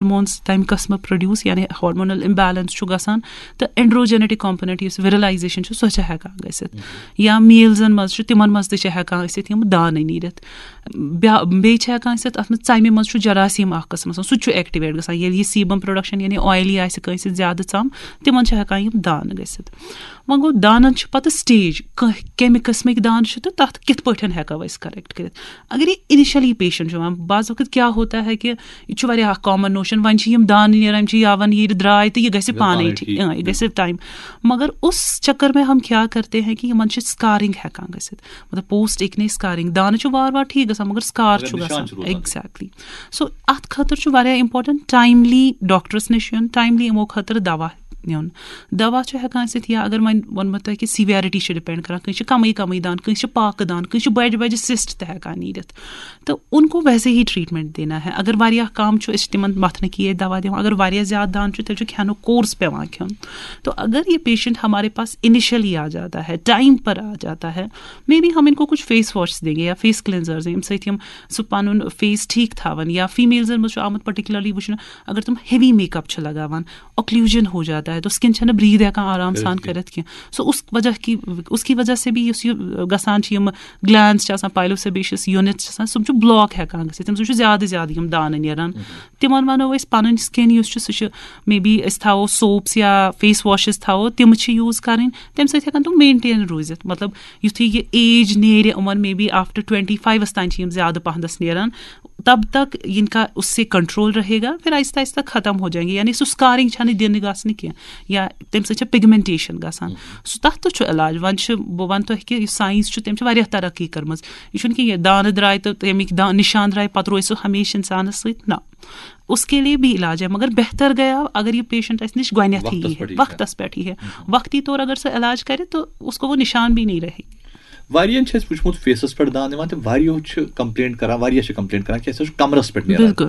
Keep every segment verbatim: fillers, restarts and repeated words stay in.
Hormones تَمہِ قٕسمہٕ produce, یعنی ہارمونل امبیلنس چھُ گژھان، تہٕ اینڈروجینیٹک کمپوننٹ یُس ویرلائزیشن چھُ، سۄ چھِ ہٮ۪کان گٔژھِتھ۔ یا میلزن منٛز چھُ، تِمن منٛز تہِ چھِ ہٮ۪کان ٲسِتھ یِم دانہٕ نیٖرِتھ۔ بیا-، بیٚیہِ چھِ ہٮ۪کان ٲسِتھ، اَتھ منٛز ژَمہِ منٛز چھُ جراثیم اکھ قٕسم آسان، سُہ تہِ چھُ ایکٹیویٹ گژھان۔ ییٚلہِ یہِ سیبم پروڈکشن یعنی آیلی آسہِ کٲنٛسہِ زیادٕ ژَم، تِمن چھِ ہٮ۪کان یِم دانہٕ گٔژھِتھ۔ وۄنۍ گوٚو، دانن چھِ پتہٕ سٹیج، کانٛہہ کمہِ قٕسمٕکۍ دانہٕ چھِ تہٕ تتھ کِتھ پٲٹھۍ ہٮ۪کو أسۍ کریکٹ کٔرِتھ۔ اگر یہِ انیشلی پیشنٹ چھُ یِوان، بعض وقت کیا ہوتا ہے کہ یہِ چھُ واریاہ اکھ کامن نوشن، وۄنۍ چھِ یِم دانہٕ نیران، یِم چھِ یاوان، یہِ درٛاے تہٕ یہِ گژھِ یہِ پانے پانے ٹھیٖک، ٹھیٖک، اۭں، یہِ گژھِ ٹایم۔ مگر اس چکر میں ہم کیا کرتے ہیں کہ یِمن چھِ سکارنگ ہٮ۪کان گٔژھِتھ، مطلب پوسٹ ایکنی سکارنگ۔ دانہٕ چھُ وار وار ٹھیٖک گژھان، مگر سکار مگر چھُ نِشان گژھان۔ چھُ روزان۔ ایگزیکٹلی۔ سو اتھ خٲطرٕ چھُ واریاہ امپورٹنٹ ٹایملی ڈاکٹرس نِش یُن، ٹایملی یِمو خٲطرٕ دوا نیُن۔ دوا چھُ ہٮ۪کان ٲسِتھ، یا اگر وۄنۍ ووٚنمو تۄہہِ کہِ سیویرٹی چھِ ڈِپینڈ کران، کٲنٛسہِ چھِ کمٕے کمٕے دانہٕ، کٲنٛسہِ چھِ پاکہٕ دانہٕ، کٲنٛسہِ چھِ بجہِ بجہِ سِسٹ تہِ ہٮ۪کان نیٖرِتھ۔ تو ان کو ویسے ہی ٹریٹمنٹ دینا ہے۔ اگر واریاہ کم چھُ، أسۍ چھِ تِمن متھنہٕ کی یٲتۍ دوا دِوان، اگر واریاہ زیادٕ دانہٕ چھُ، تیٚلہِ چھُ کھٮ۪نُک کورس پٮ۪وان کھیوٚن۔ تو اگر یہ پیشنٹ ہمارے پاس انیشلی آ جاتا ہے، ٹائم پر آ جاتا ہے، مے بی ہم ان کو کچھ فیس واش دیں گے یا فیس کلینزر دیں، ییٚمہِ سۭتۍ یِم سُہ پنُن فیس ٹھیک تھاون۔ یا فیمیلزن منٛز چھُ آمُت پرٹیکولرلی وٕچھنہٕ، اگر تِم ہیوی میک اپ چھِ لگاوان، اوکلوجن ہو جاتا ہے، تو سکن چھنہٕ بریتھ ہٮ۪کان آرام سان کٔرِتھ۔ کٔرِتھ کینٛہہ۔ سو اس وجہ کی، اس کی وجہ سے بھی یُس یہِ گژھان چھِ، یِم گلینڈز چھِ آسان، پایلو سیبیشس یونٹس چھِ آسان، تِم چھِ بلاک ہٮ۪کان گٔژھِتھ، تِم چھِ زیادٕ زیادٕ یِم دانہٕ نیران۔ تِمن ونو أسۍ پنٕنۍ سکن یُس چھُ، سُہ چھُ مے بی أسۍ تھاوو سوپس یا فیس واشز تھاوو، تِم چھِ یوٗز کرٕنۍ، تمہِ سۭتۍ ہٮ۪کن تِم مینٹین روٗزِتھ۔ مطلب یُتھُے یہِ ایج نیرِ یِمن، مے بی آفٹر ٹُوَنٹی فایوَس تام چھِ یِم زیادٕ پہنس نیران، تب تک ان کا اس سے کنٹرول رہے گا، پھر آہستہ آہستہ ختم ہو جائیں گے۔ یعنی سُہ سکارنگ چھنہٕ دِنہٕ گژھنہٕ کینٛہہ، یا تمہِ سۭتۍ چھِ پگمنٹیشن گژھان۔ سُہ، تتھ تہِ چھُ علاج۔ وۄنۍ چھِ، بہٕ ونہٕ تۄہہِ کہِ یُس ساینس چھُ، تٔمۍ چھِ واریاہ ترقی کٔرمٕژ۔ یہِ چھُنہٕ کہِ یہِ دانہٕ درٛاے تہٕ تَمِکۍ دا-، نشان درٛاے، پتہٕ روزِ سُہ ہمیشہِ انسانس سۭتۍ۔ نہ، اس کے لیے بھی علاج ہے، مگر بہتر گیا اگر یہ پیشنٹ اسہِ نِش گۄڈنیتھٕے وقتس یی ہے، پٮ۪ٹھ یی ہے۔ وقتس پٮ۪ٹھ یی ہے۔ ہم۔ وقتی طور اگر سُہ علاج کرِ تو اس کو وہ نشان بھی نہیں رہے۔ واریاہن چھِ اَسہِ وٕچھمُت فیسَس پٮ۪ٹھ دانہٕ یِوان تہٕ واریاہو چھِ کمپلینٹ کران، واریاہ چھِ کمپلینٹ کران کہِ اَسہِ حظ چھُ کمرَس پٮ۪ٹھ نیران۔ بِلکُل۔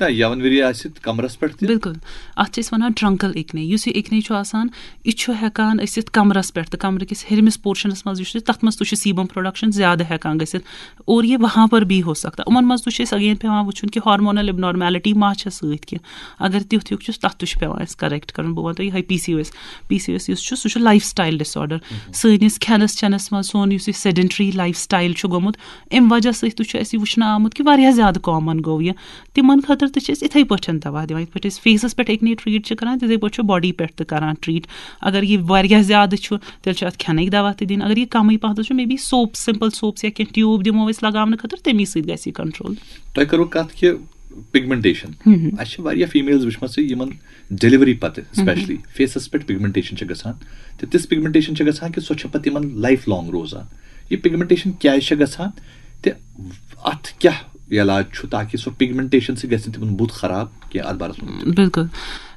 نہ، یَوَن ؤری آسہِ کمرَس پٮ۪ٹھ تہِ۔ بِلکُل۔ اَتھ چھِ أسۍ وَنان ٹرٛنٛکَل ایکنی۔ یُس یہِ ایکنی چھُ آسان، یہِ چھُ ہٮ۪کان ٲسِتھ کمرَس پٮ۪ٹھ تہٕ کمرٕ کِس ہیٚرمِس پورشنَس منٛز یُس چھُ، تَتھ منٛز تہِ چھُ سیٖبم پرٛوڈَکشَن زیادٕ ہٮ۪کان گٔژھِتھ۔ اور یہِ وہاں پر بھی ہو سکتا ہے۔ یِمَن منٛز تہِ چھُ اَسہِ اگین پٮ۪وان وٕچھُن کہِ ہارمونل ابنارمیلٹی ما چھےٚ سۭتۍ کینٛہہ۔ اگر تیُتھ ہیوٗ چھُس، تَتھ تہِ چھُ پٮ۪وان اَسہِ کریکٹ کَرُن۔ بہٕ وَنہٕ تۄہہِ یِہوٚے P C O S. P C O S یُس چھُ، سُہ چھُ لایف سٹایل ڈِس آرڈر۔ سٲنِس کھٮ۪نَس چٮ۪نَس منٛز سون یُس یہِ سیڈنٹری لایف سٹایل چھُ گوٚمُت، اَمہِ وجہ سۭتۍ تہِ چھُ اَسہِ یہِ وٕچھنہٕ آمُت کہِ واریاہ زیادٕ کامن گوٚو یہِ۔ تِمن خٲطرٕ تہِ چھِ أسۍ یِتھَے پٲٹھۍ دوا دِوان، یِتھ پٲٹھۍ أسۍ فیسَس پٮ۪ٹھ ایکنی ٹرٛیٖٹ چھِ کَران، تِتھَے پٲٹھۍ چھُ باڈی پٮ۪ٹھ تہِ کَران ٹرٛیٖٹ۔ اگر یہِ واریاہ زیادٕ چھُ، تیٚلہِ چھُ اَتھ کھٮ۪نٕکۍ دوا تہِ دِنۍ۔ اگر یہِ کَمٕے پَہَن چھُ، maybe soap, simple soaps یا کینٛہہ ٹیوٗب دِمو أسۍ لگاونہٕ خٲطرٕ، تَمی سۭتۍ گژھِ یہِ کنٹرول۔ تۄہہِ کٔروٕ کَتھ کہِ پگمنٹیشن۔ ہم۔ اَسہِ چھِ واریاہ فیمیلز وٕچھمَژٕ یِمن ڈیلیوری پتہٕ ہم۔ اسپیشلی فیسَس پٮ۪ٹھ پگمنٹیشن چھِ گژھان، تہٕ تِژھ پگمنٹیشن چھِ گژھان کہِ سۄ چھےٚ پتہٕ تِمن لایف لانگ روزان۔ یہِ پگمنٹیشن کیازِ چھےٚ گژھان تہٕ اَتھ کیٛاہ علاج چھُ تاکہِ سۄ پگمنٹیشن سۭتۍ گژھِ نہٕ تِمن بُتھ خراب کینٛہہ؟ اَتھ بارس منٛز ؤنِو۔ بِلکُل۔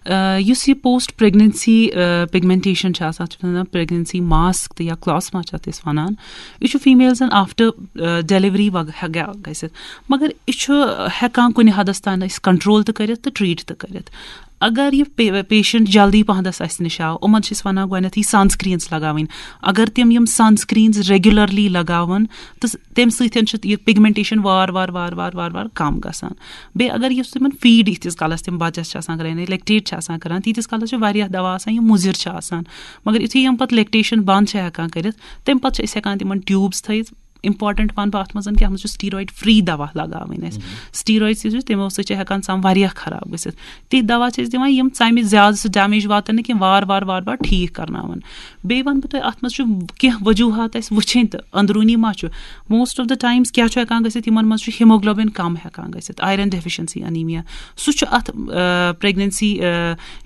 آ، یُس یہِ پوسٹ پریگننسی، آ، پگمنٹیشن چھِ آسان، اَتھ چھِ وَنان پریگننسی ماسک تہٕ یا کلاسما چھِ اَتھ أسۍ وَنان۔ یہِ چھُ فیمیلزن آفٹر، آ، ڈیلیوری وغیرہ گژھِتھ، مگر یہِ چھُ ہٮ۪کان کُنہِ حدس تام أسۍ کنٹرول تہِ کٔرِتھ تہٕ ٹریٖٹ تہِ کٔرِتھ۔ اگر یہِ پے-، پیشنٹ جلدی پہنس اَسہِ نِش آو، یِمن چھِ أسۍ وَنان گۄڈنیتھٕے سن سکرینز لگاوٕنۍ۔ اگر تِم یِم سن سکرینز ریگولرلی لگاون تہٕ تَمہِ سۭتۍ چھِ یہِ پگمنٹیشن وار وار وار وار وار وار کم گژھان۔ بیٚیہِ اگر یُس تِمن فیٖڈ ییٖتِس کالس تِم بچس چھِ آسان کران، یعنی لیکٹیٹ چھِ آسان کران، تیٖتِس کالس چھِ واریاہ دوا آسان، یِم مُضر چھِ آسان۔ مگر یُتھُے یِم پتہٕ لیکٹیشن بند چھِ ہٮ۪کان کٔرِتھ، تَمہِ پتہٕ چھِ أسۍ ہٮ۪کان تِمن ٹیوٗبس تھٲیِتھ۔ امپورٹنٹ ونہٕ بہٕ اتھ منٛز کہِ اتھ منٛز چھُ سٹیٖرایڈ فری دوا لگاوٕنۍ اَسہِ۔ سٹیٖرایڈ یُس چھُ، تِمو سۭتۍ چھِ ہٮ۪کان ژم واریاہ خراب گٔژھِتھ۔ تِتھۍ دوا چھِ أسۍ دِوان، یِم ژمہِ زیادٕ سُہ ڈیمیج واتن نہٕ کینٛہہ، وار وار وار وار ٹھیٖک کرناوان۔ بیٚیہِ وَنہٕ بہٕ تۄہہِ، اَتھ منٛز چھُ کینٛہہ وجوٗہات اَسہِ وٕچھِنۍ تہٕ أنٛدروٗنی ما چھُ۔ موسٹ آف دَ ٹایمٕز کیٛاہ چھُ ہٮ۪کان گٔژھِتھ؟ یِمَن منٛز چھُ ہیموگلوبِن کَم ہٮ۪کان گٔژھِتھ، آیرن ڈیفیشنسی انیمیا، سُہ چھُ اَتھ، آ، پریگننسی، آ،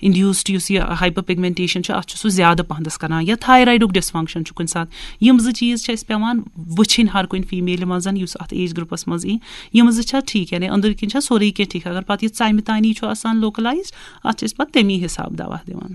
انڈیوسڈ یُس یہِ ہائپر پگمنٹیشن چھُ، اَتھ چھُ سُہ زیادٕ پَہنَس کران، یا تھایرایڈُک ڈسفنکشن چھُ کُنہِ ساتہٕ۔ یِم زٕ چیٖز چھِ اَسہِ پٮ۪وان وٕچھِنۍ ہر کُنہِ فیمیلہِ منٛز یُس اَتھ ایج گروپَس منٛز یی، یِم زٕ چھا ٹھیٖک، یعنی أنٛدٕرۍ کِنۍ چھا سورُے کینٛہہ ٹھیٖک۔ اگر پَتہٕ یہِ ژَمہِ تانی چھُ آسان لوکلایزڈ، اَتھ چھِ أسۍ پَتہٕ تَمی حساب دوا دِوان۔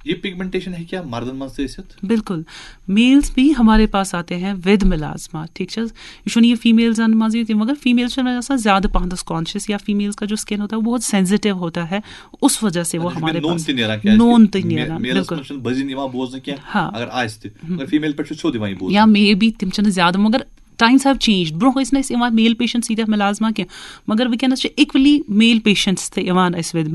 یہ پگمنٹیشن ہیٚکہِ مردن منٛز تہِ ٲسِتھ؟ بالکل، میلز بھی ہمارے پاس آتے ہیں ود میلازما، ٹھیک چھا؟ یہ چھُنہٕ یہِ فیمیلزن منٛز یوت، مگر فیمیلز چھِ آسان زیادٕ پہنس کانشیس، یا فیمیلز کا جو اسکن ہوتا ہے وہ بہت سینسیٹیو ہوتا ہے، اس وجہ سے وہ ہمارے پاس نون تہِ نیران، کیازِ نون تہِ نیران، میلس بالکل۔ منٛز چھُنہٕ بٔزِن یِوان بوزنہٕ کینٛہہ، ہاں۔ اگر آسہِ تہِ، مگر فیمیل پٮ۪ٹھ چھُ سیوٚد یِوان یہِ بوزنہٕ۔ یا مے بی تِم چھِنہٕ زیادٕ، مگر Times have changed. برونٛہہ ٲسۍ نہٕ أسۍ یِوان male patients ییٖتیٛاہ مُلازمہ کینٛہہ، مگر وٕنکیٚنَس چھِ equally male patients تہِ یِوان اَسہِ وِد